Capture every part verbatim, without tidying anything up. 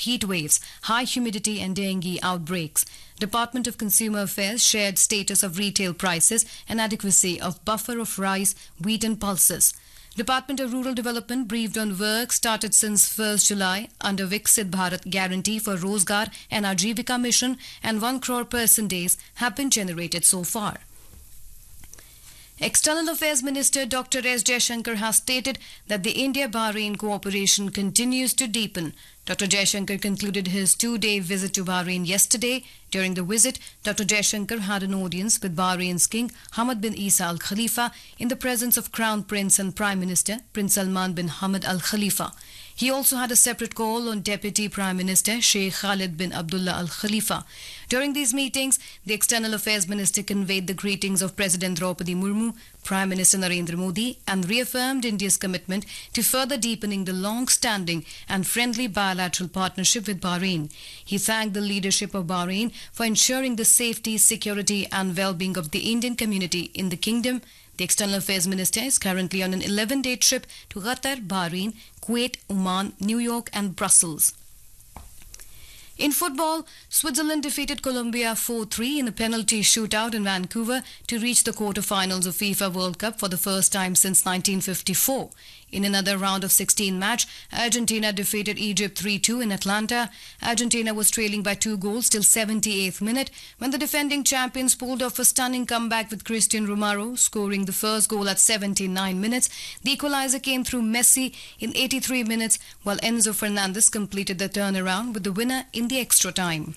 heat waves, high humidity and dengue outbreaks. Department of Consumer Affairs shared status of retail prices and adequacy of buffer of rice, wheat and pulses. Department of Rural Development briefed on work started since first July under Viksit Bharat Guarantee for Rozgar and Ajeevika Mission, and one crore person days have been generated so far. External Affairs Minister Doctor S. Jaishankar has stated that the India-Bahrain cooperation continues to deepen. Doctor Jaishankar concluded his two-day visit to Bahrain yesterday. During the visit, Doctor Jaishankar had an audience with Bahrain's King Hamad bin Isa Al Khalifa in the presence of Crown Prince and Prime Minister Prince Salman bin Hamad Al Khalifa. He also had a separate call on Deputy Prime Minister Sheikh Khalid bin Abdullah Al Khalifa. During these meetings, the External Affairs Minister conveyed the greetings of President Draupadi Murmu, Prime Minister Narendra Modi, and reaffirmed India's commitment to further deepening the long-standing and friendly bilateral partnership with Bahrain. He thanked the leadership of Bahrain for ensuring the safety, security and well-being of the Indian community in the kingdom. The External Affairs Minister is currently on an eleven-day trip to Qatar, Bahrain, Kuwait, Oman, New York and Brussels. In football, Switzerland defeated Colombia four three in a penalty shootout in Vancouver to reach the quarterfinals of FIFA World Cup for the first time since nineteen fifty-four. In another round of sixteen match, Argentina defeated Egypt three two in Atlanta. Argentina was trailing by two goals till seventy-eighth minute when the defending champions pulled off a stunning comeback with Cristian Romero scoring the first goal at seventy-nine minutes. The equalizer came through Messi in eighty-three minutes, while Enzo Fernandez completed the turnaround with the winner in the extra time.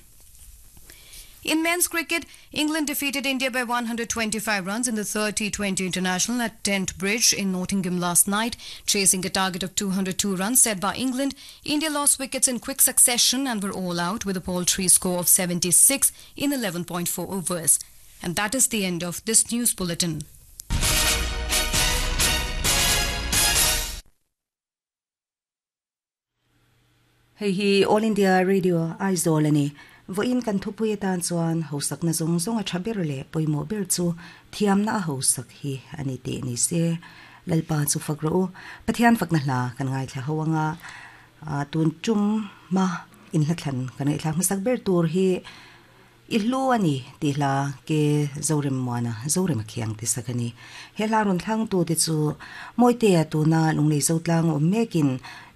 In men's cricket, England defeated India by one hundred twenty-five runs in the third T twenty International at Trent Bridge in Nottingham last night. Chasing a target of two hundred two runs set by England, India lost wickets in quick succession and were all out with a paltry score of seventy-six in eleven point four overs. And that is the end of this news bulletin. Hei hi All India Radio Aizawl ani. Voin kan thupui tan chuan hosak na zong zong a thabir le poimo ber chu thiam na hosak hi ani te ni se lalpa chu fakro pathian fakna hla kan ngai thla hawanga tun chum ma in hla thlan kan ngai thla hmasak ber tur hi ihlu ani ti hla ke zorem mana zorem khiang ti sakani he hla ron thlang tu te chu moite tu na lunglei zotlang om mekin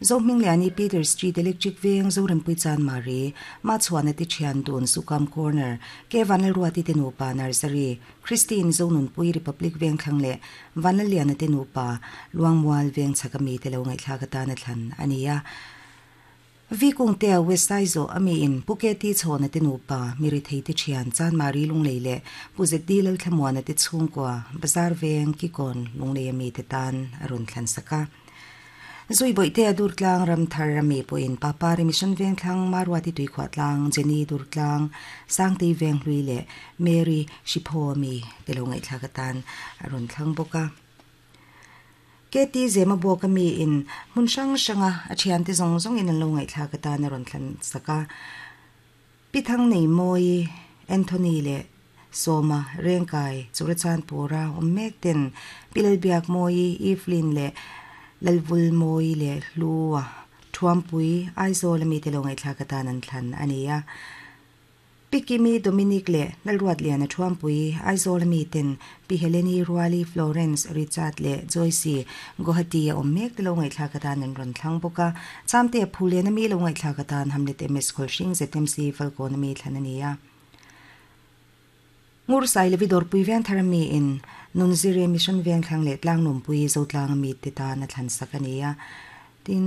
Zohmingliani Peter Street Electric Veng Zorem Puichan Mari ma chuana ti thian dun Sukam Corner ke Vanal Ruati te nupa Nursery Christine Zonun Pui Republic Veng Thangle Vanal Liana te nupa Luangmual Veng chakami te lo ngai thla ka ta na thlan ania Vikung te West Saizo ami in Puketi chona te nupa miri thei te thian chan mari lunglei le puzet di lal thlamuana te chhungkwa bazar veng ki kon lunglei ami te tan arun thlan saka Zui boi te adur tlang ram thar rami po in papa remission veng thlang marwati tui khwa tlang Jenny dur tlang sangti veng hlui le Mary shipho mi te lo ngai thla ka tan arun thlang boka Keti zema bo ka mi in mun sang sanga a thian te zong zong in an lo ngai thla ka tan arun thlan saka Pithang nei moi Anthony le Soma Rengkai Churachan pura ommek ten Pilal biak moi Evelyn le Lalvul moi le luwa thuampui Aizawl ami te lo ngai thla ka tan an thlan ania Pikimi Dominic le Lalruat lian a thuampui Aizawl ami ten Pi Heleni Ruali Florence Richard le Joyce Guwahati a ommek te lo ngai thla ka tan an ron thlang boka chamte phulen ami lo ngai thla ka tan Hamlet M S Kholsing Z M C Falcon ami thlan ania Ngur sai levi dor pui ven tharami in nunzire mission veng thlang le tlang num pui zo tlang mi te ta na thlan sakania tin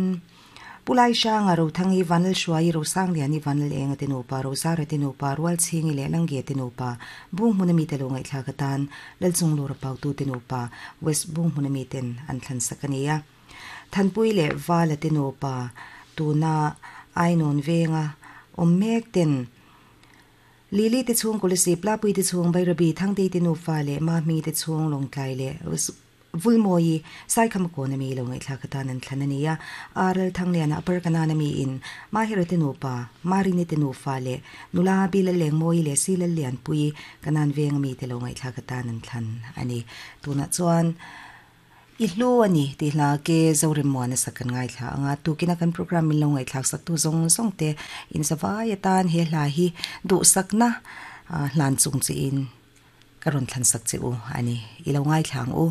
pulai shanga ro thangi vanal shuai ro sang liani vanal enga te no pa ro zara te no pa rual chingi le langge te no pa bung munami te lo ngai thla ka tan lal chung lo ra pau tu te no pa west bung munami ten an thlan sakania thanpui le wala te no pa tu na ainon venga ommek ten Lili te chung kolisi pla pui te chung bai rabi thang te te nu fa le ma mi te chung long tlai le vulmoi sai kham ko na mi lo ngai thla ka tan an thlan ania aral thang le na upper kana na mi in ma hero te nu pa mari ni te nu fa le nula bi le leng moi le si le lian pui kanan veng mi te lo ngai thla ka tan an thlan ani tuna chuan I hlu ani ti hla ke zorim muana sakan ngai thla anga tukina kan program min lo ngai thlak sak tu zong zong te in zawai atan he hla hi du sakna hlan chung chi in karon thlan sak chi u ani ilo ngai thlang u.